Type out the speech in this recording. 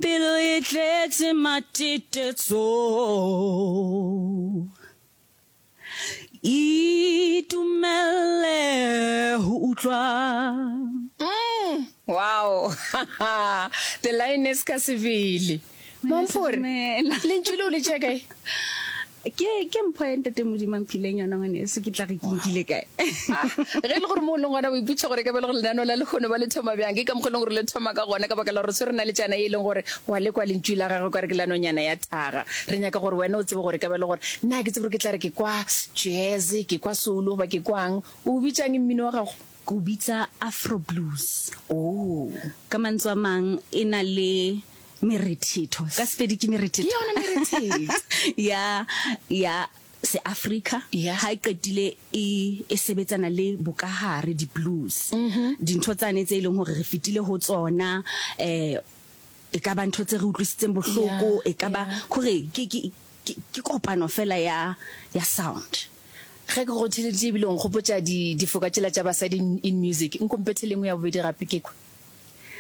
Pelo e tletse matetetso. Itumelle ho utlwa. Mm, wow. The lioness ka sebele. Mamphore, lentšu leo le tšea kae? Ke ke mpho ya Ntate Modimo a mphileng yona ngwaneso, ke tla re ke nkile kae? Ah, ge e le gore mo o leng gona o ipotša gore e ka ba le gore lenaneo la lehono ba le thoma bjang, ke ka mokgwa e leng gore le thoma ka gona, ka baka la gore re swere naletšana ye e leng gore wa le kwa lentšu la gagwe ka re ke la nonyana ya thaga. Re nyaka gore wena o tsebe gore e ka ba le gore nna ga ke tsebe gore ke tla re ke kwa jazz, ke kwa soul goba ke kwang. O bitšang mmino wa gago? Ke o bitsa Afro blues. Oh. Ka mantswe a mang e na le merethetho. Ka Sepedi ke merethetho. Ke yona merethetho. Ya, ya Seafrika. Ya. Ha e qetile e, e sebetsana le bokahare, di-blues. Dintho tsane tse e leng hore re fetile ho tsona, eh, e ka ba ntho tse re utlwisitseng bohloko, e ka ba, kore ke, ke, ke, ke kopano fela ya, ya sound. Ge ke go theeleditše ebile o nkgopotša di, difoka tšela tša basadi in, in music. Nkompethe le nngwe ya bobedi gape ke kwe.